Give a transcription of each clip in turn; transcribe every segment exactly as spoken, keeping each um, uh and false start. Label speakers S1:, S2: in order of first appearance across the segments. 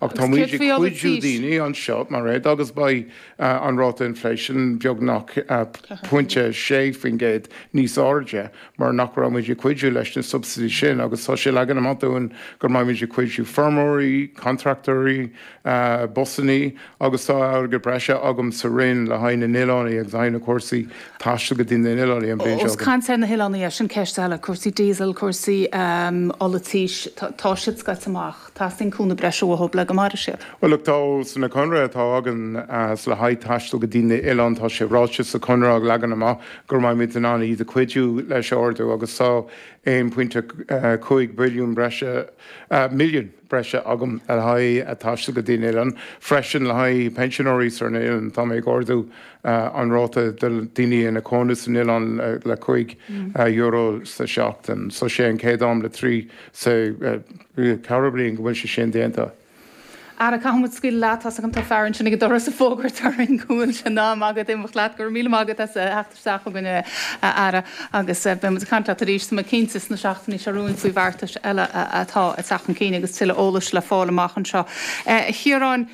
S1: Ach tá muid ag cuidiú daoine anseo mar é agus beidh an ráta inflation beagnach pointe sé faoin gcéad níos airde mar nach raibh muid ag cuidiú leis na subsidies sin agus tá sé leagan amach dúinn go mbeidh muid ag cuidiú feirmeoirí, contractóirí, busanna agus tá airgead breise agam sa Roinn le haghaidh na n-oileán agus haghaidh na cúrsaí taistil go dtí na n-oileán an bhliain seo.
S2: Caint ar na hoileáin sin ceist eile cúrsaí diesel, cúrsaí ola tís tá siad scaite amach, Teastaíonn cúnamh breise uathu le go mairfidh siad.
S1: Well tá san na conradh atá againn le haghaidh taistil go dtí na hoileáin tá sé ráite sa chonradh ag leagan amach gur mbeimid in ann iad a chuidiú leis ardú agus tá aon pointe cúig billiún breise milliún breise agam le haghaidh taistil go dtí na hoileáin. Freisin le haghaidh pensionóirí sar na hoileáin tá mé ag ardú an ráta do daoine ina cónaí san oileán le cúig euro sa seachtain. So sé an chéad am le trí sa ceithre bliain go bhfuil sé sin déanta.
S2: Ara caithfidh muid scaoileadh leat tá an tá fear ansin ag an doras ag fógairt orainn go bhfuil sé in am agat imeacht leat go raibh míle maith agat as theacht isteach chugainn a Aire agus beidh muid ag caint leat arís tá mé cinnte sna seachtainí seo romhainn faoi bheartais eile atá ag teacht chun cinn agus tuilleadh eolais le fáil amach anseo. A Chiaráin,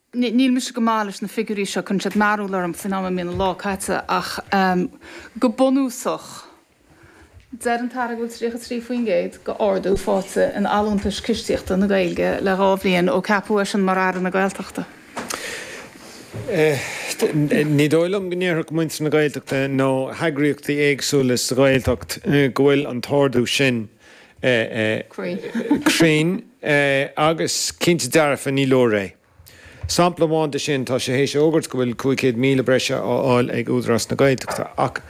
S2: Níl mise go maith leis na figiúirí seo, cuireann siad mearbhall orm faoin am a mbíonn an lá caite ach go bunúsach, deir an tAire go bhfuil tríocha trí faoin gcéad d'ardú faighte in allúntais cistíochta na Gaeilge le dhá bhliain ó ceapadh eisean mar Aire na Gaeltachta.
S3: Ní dóigh liom go ndéarfadh muintir na Gaeltachta nó heagraíochtaí éagsúla sa Ghaeltacht go bhfuil an t-ardú sin cruinn agus cinnte dearfa ní leor é. Sampla amháin de sin, tá sé théis a fhógairt go bhfuil cúig chéad míle breise á fháil ag Údarás na Gaeltachta ach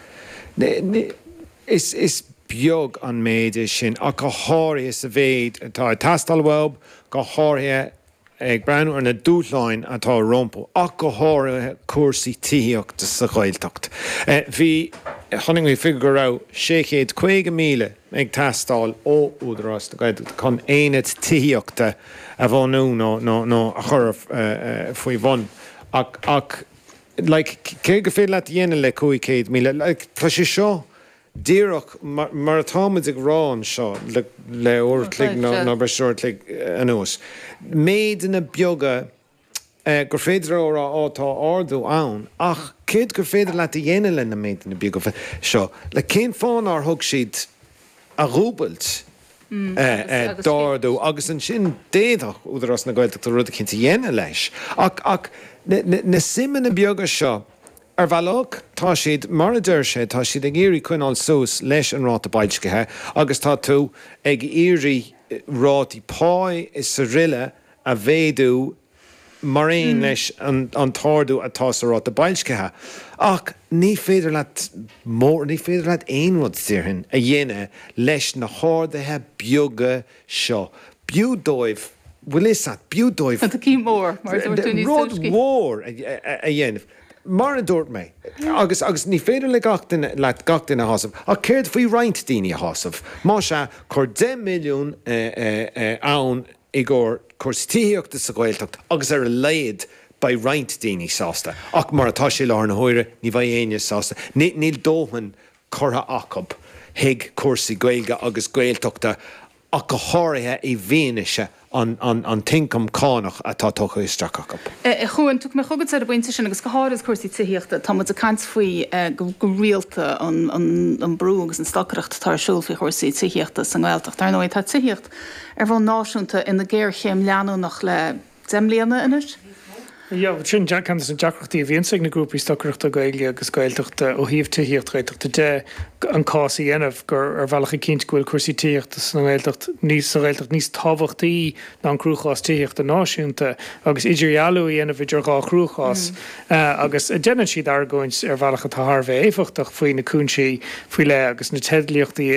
S3: is beag an méid é sin ach go háirithe sa mhéid atá ag teastáil uathu, go háirithe ag breathnú ar na dúshláin atá rompu, ach go háirithe cúrsaí tithíochta sa Ghaeltacht. Bhí, chonaic mé figiúr go raibh sé chéad caoga míle ag teastáil ó Údarás na Gaeltachta chun aonad tithíochta a bhunú nó nó a chur faoi bhun ach ach like céard gur féidir leat a dhéanamh le cúig chéad míle? Like tá sé seo díreach mar atá muid ag rá anseo le le uair a chloig nó nó breis is uair a chloig anuas. Méideanna beaga gur féidir leo a rá á tá ardú ann ach céard gur féidir leat a dhéanamh le na méideanna beaga seo? Like cén fáth nár thug siad a dhúbailt d'ardú agus ansin d'fhéadfadh Údarás na Gaeltachta rud eicínt a dhéanamh leis. Ach ach na suimeanna beaga seo, ar bhealach, tá siad, mar a deir sé, tá siad ag iarraidh coinneáil suas leis an ráta boilscithe agus tá tú ag iarraidh rátaí páí is araile a mhéadú mar aon leis an t-ardú atá sa ráta boilscithe. Ach ní féidir leat mór, ní féidir leat aon rud, déarfainn, a dhéanamh leis na harduithe beaga seo. B'fhiú dóibh, bhfuil fhios a't, b'fhiú dóibh
S2: Cinn mór, mar a dúirt tú níos
S3: rud
S2: túisce.
S3: mhór a dhéanamh. Mar a dúirt mé, agus agus ní féidir le gach duine, leat gach duine a shásamh, ach céard faoi roinnt daoine a shásamh? Más ea, cuir deich milliún ann i gcomhair cúrsaí tithíochta sa Ghaeltacht agus ar a laghad beidh roinnt daoine sásta. Ach mar atá sé i láthair na huaire, ní bheidh éinne sásta. Níl dóthain curtha acu chuig cúrsaí Gaeilge agus Gaeltachta ach go háirithe i bhfianaise an t-ioncam cánach atá tugtha isteach acu.
S2: A Chuain, tiocfaidh mé chugat ar an bpointe sin agus go háirid cúrsaí tithíochta. Tá muid ag caint faoi go rialta an brú agus an stocaireacht atá ar siúl faoi chúrsaí tithíochta sa nGaeltacht. Ar ndóigh, tá tithíocht ar bhonn náisiúnta ina géarchéim leanúnach le deich mbliana anois.
S4: Yeah, sin ceann de na deacrachtaí a bhíonns ag na grúpaí stocaireachta Gaeilge agus Gaeltachta ó thaobh tithíocht Ghaeltachta de, an cás a dhéanamh gur ar bhealach ag cinntiú go bhfuil cúrsaí tithíochta sa nGaeltacht níos sa Ghaeltacht níos tábhachtaí ná an cruachás tithíochta náisiúnta agus idirdhealú a dhéanamh idir dhá chruachás agus déanann siad argóint ar bhealach atá thar a bheith éifeachtach faoi na cúinsí faoi leith agus na teidlíochtaí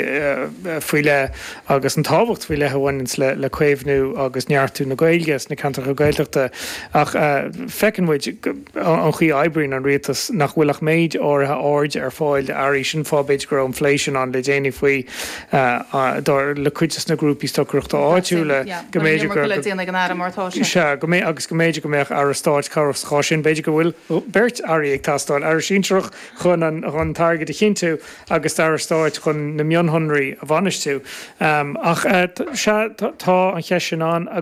S4: faoi leith agus an tábhacht faoi leith a bhaineanns le caomhnú agus neartú na Gaeilge sna ceantracha Gaeltachta. Ach feiceann muid an chaoi a oibríonn an rialtas, nach bhfuil ach méid áirithe airde ar fáil d'airí. Sin fáth b'fhéidir go raibh an phlé sin ann le déanaí faoi dar le cuid de na grúpaí stocaireachta áitiúla go mb'fhéidir go Sea, go mbeidh agus go mb'fhéidir go mbeadh Aire Stáit cabhrach sa chás sin. B'fhéidir go bhfuil beirt Airí ag teastáil, Aire Sinsearach chun an chun an t-airgead a chinntiú agus Aire Stáit chun na mionshonraí a bhainistiú. Ach sea, tá an cheist sin ann agus.